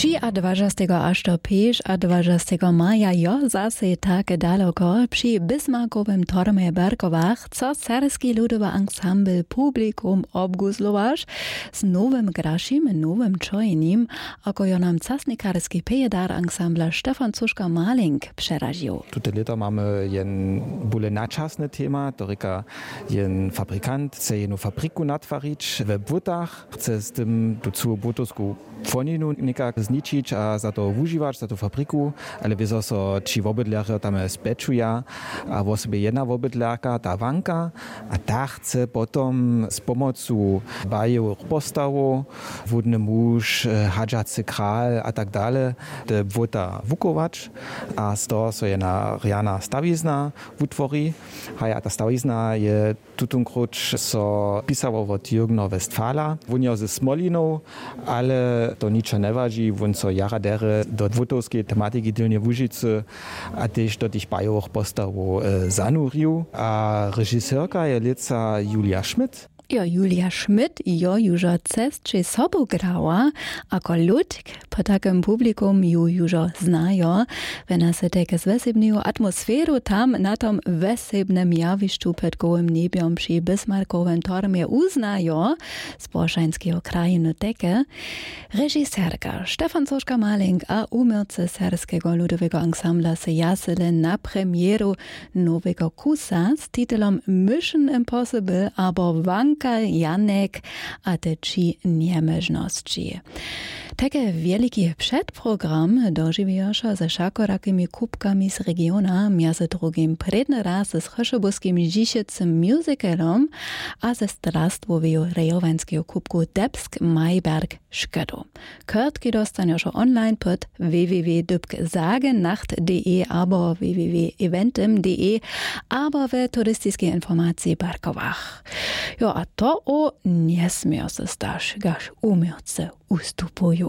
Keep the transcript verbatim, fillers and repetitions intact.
Třiadwažastego až do pěšadwažastego maja jo zasej take daloko při bismarkowym tormje w berkowach chce serbski ludowy ansambl publikum obguzlować z nowym grašim, nowym čojenim, ako jo nam casnikarski pejadar ansambla stefan cuška maling přeražił. Tute lěto mamy jen bóle načasne tema, to rěka jen fabrikant chce jednu fabriku natwarić we błótach, chce z tym tu cyłu błótowsku płoninu někak zničić a za to wužiwać za tu fabriku. Ale wězo so ći wobydlerjo tam spečuja a wosebje jedna wobydlerka ta wanka, a ta chce potom z pomocu bajowych postawow, wódny muž, hadźacy kral a tak dale, te błóta wukować. A z toho so jedna rjana stawizna wutwori. Haj, a ta stawizna je tutonkróć so pisało wot jürgno westfala, wón jo ze smolinow, ale to ničo njewaži, wón so jara derje do błótowskeje tematiki w delnjej łužicy a tež do tych bajowych postawow zanurił. A režiserka je lětsa julia schmidt. Jo, julia schmidt jo južo cesće sobu grała, ako ludk po takem publikum ju južo znajo. Wjena se teke z wesebneju atmosferu tam na tom wesebnem jawišću pod gołym njebjom při bismarkowem tormje uznajo z boršańskeho krajinu teke. Režiserka stefan soška maling a uměłcy serbskeho ludowego ansambla se jasele na premjeru nowego kusa z titelom mission impossible abo wanka janek a te tři njemóžnosći. Tajke wjeliki předprogram dožiwijoša ze wšakorakimi kubkami z regiona, mjez drugim prědny raz z chryšobuskim žišecym musicalom a ze strastwoweju rejowańskeju kubku debsk mayberg škedu. Kórtki dóstanjoša online pod w w w dypk sagennacht d e abo w w w eventim d e abo we turistiskej informaciji w barkowach. Jo, a to o njesměr se staš gaž uměrce ustupuju.